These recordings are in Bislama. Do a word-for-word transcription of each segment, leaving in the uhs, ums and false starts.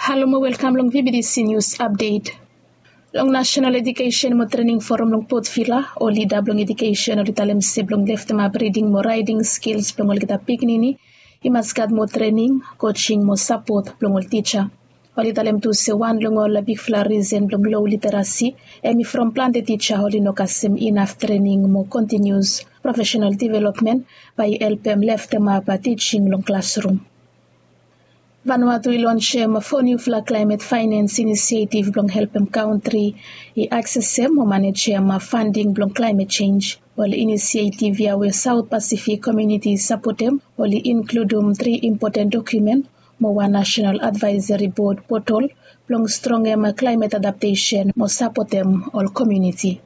Halo mo welkam long V B T C News Update. Long National Education mo Training Forum long Port Vila, ol lida blong education oli talem se blong leftemap reading mo writing skills blong olgeta pikinini i mas gat mo training, coaching mo sapot blong ol tija. Oli talem tu se wan long ol bigfala risen blong low literasi hemi from plante tija oli no kasem inaf training mo kontinius profesenal developmen bae i helpem leftemap tijing long klasrum. Vanuatu i lonsem fo niufala klaemet faenens inisietif blong helpem kantri i aksesem mo manejem fanding blong klaemet jenj. Ol inisietif ya we Saot Pasifik komuniti i sapotem oli inkludum tri impoten dokumen mo wan nasenal advaeseri bod potol blong strongem klaemet adaptesen mo sapotem ol komuniti.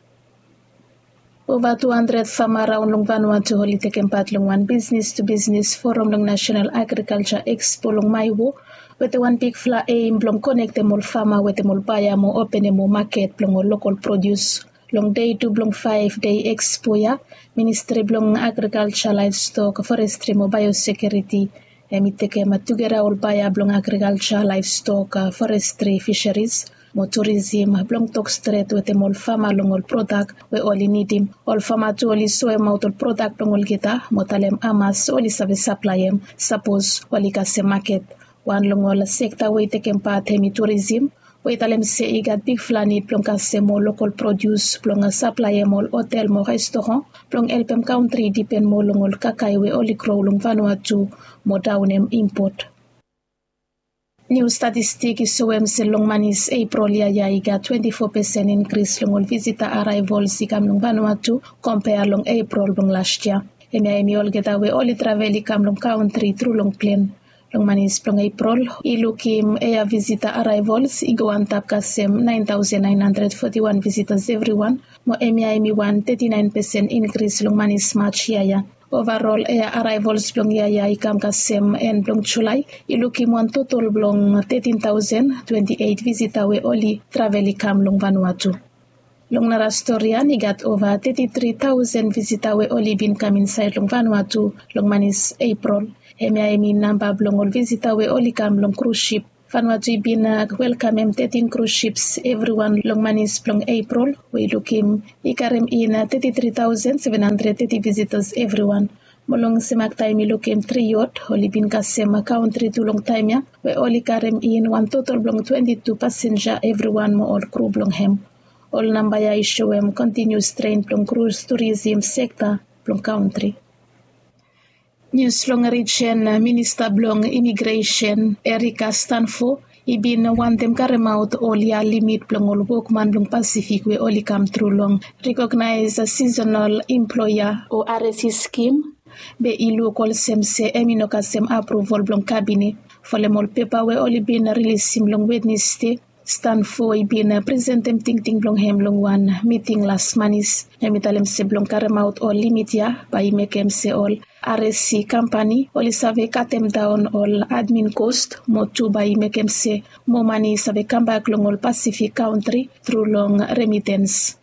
Ova tu handred fama raon long Vanuatu oli tekem pat long wan bisnis tu bisnis foram long Nasenal Agrikalja Ekspo long Maewo, wetem wan bigfala eim blong konektem ol fama wetem ol baea mo openem ol maket blong ol lokol prodius. Long dei tu blong faef dei ekspo ya, Ministri blong Agrikalja, Laevstok, Forestri mo Baeosekiuriti hemi tekem tugeta ol baea blong agrikalja, laevstok, forestri, fiseris mo turisim blong tok stret wetem ol fama long ol prodak we oli nidim. Ol fama tu oli soemaot ol prodak blong olgeta mo talem hamas oli save saplaem sapos oli kasem maket. Wan long ol sekta we i tekem pat hemi turisim, we i talem se i gat bigfala nid blong kasem ol lokol prodius blong saplaem ol hotel mo restoran blong helpem kantri i dipen moa long ol kakae we oli gro long Vanuatu mo daonem impot. Niu statistik i soem se long manis Eprol yia ya i gat twenti fo pesen inkris long ol visita araevols i kam long Vanuatu kompea long Eprol blong las yia. Hemia hemi olgeta we oli travel i kam long kantri tru long plen. Long manis blong Eprol i lukim ea visita araevols i go antap kasem naen taosen naen handred foti wan visitas evriwan, mo hemia hemi wan teti naen pesen inkris long manis Maj yia ya. Ovarol ea araevols blong yia ya i kam kasem en blong Julae i lukim wan totol blong tetin taosen twenti eit visita we oli travel i kam long Vanuatu. Long nara stori ya i gat ova teti tri taosen visita we oli bin kam insaed long Vanuatu long manis Eprol. Hemia hemi namba blong ol visita we oli kam long krus sip. Vanuatu i bin welkamem tetin krus sips evriwan long manis blong Eprol we i lukim i karem in teti tri taosen seven handred teti visitas evriwan. Mo long semak taem i lukim tri yot oli bin kasem kantri tu long taem ya we oli karem in wan totol blong twenti tu pasenja evriwan mo ol kru blong hem. Ol namba ya i soem kontinius tren blong krus turisim sekta blong kantri. Nius long rijen, Minista blong Imigresen Erika Stanfo i bin wantem karemaot ol yia limit blong ol wokman blong Pasifik we oli kam tru long Recognised Seasonal Employer o R S E skim, be i luk olsem se hemi no kasem apruval blong kabinet. Folem ol pepa we oli bin rilisim long Wednesde, Stanfo i bin presentem tingting blong hem long wan miting las manis. Hemi talem se blong karemaot ol limit ya bae i mekem se ol R S E kampani oli save katemdaon ol admin kos mo tu bae i mekem se moa mane i save kambak long ol Pasifik kantri tru long remitens.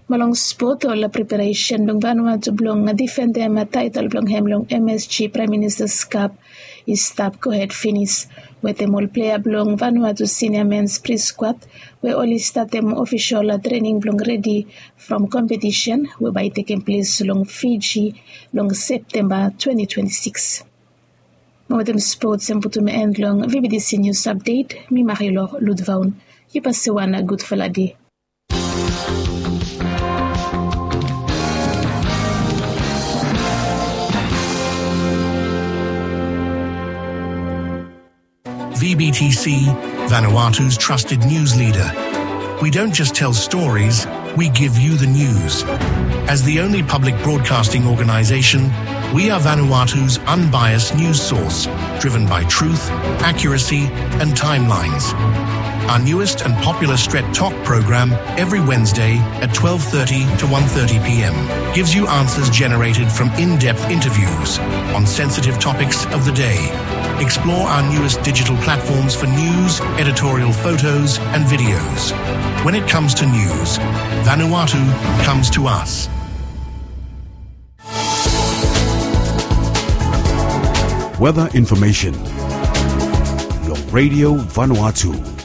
Mo long spot, ol preparesen blong Vanuatu blong difendem taetel blong hem long M S G Praem Minista's Cup i stap gohed finis, wetem ol plea blong Vanuatu sinia mens pri skwad we oli statem ofisol trening blong redi from kompetisen we bae i tekem ples long Fiji long Septemba twenti twenti sikis. Mo wetem spots hemi putum en long V B T C News Update. Mi Marilor Ludvaun. Yu pase wan gudfala dei. V B T C, Vanuatu's trusted news leader. We don't just tell stories, we give you the news. As the only public broadcasting organization, we are Vanuatu's unbiased news source, driven by truth, accuracy, and timelines. Our newest and popular Stret Tok program, every Wednesday at twelve thirty to one thirty p m, gives you answers generated from in-depth interviews on sensitive topics of the day. Explore our newest digital platforms for news, editorial photos, and videos. When it comes to news, Vanuatu comes to us. Weather information. Your Radio Vanuatu.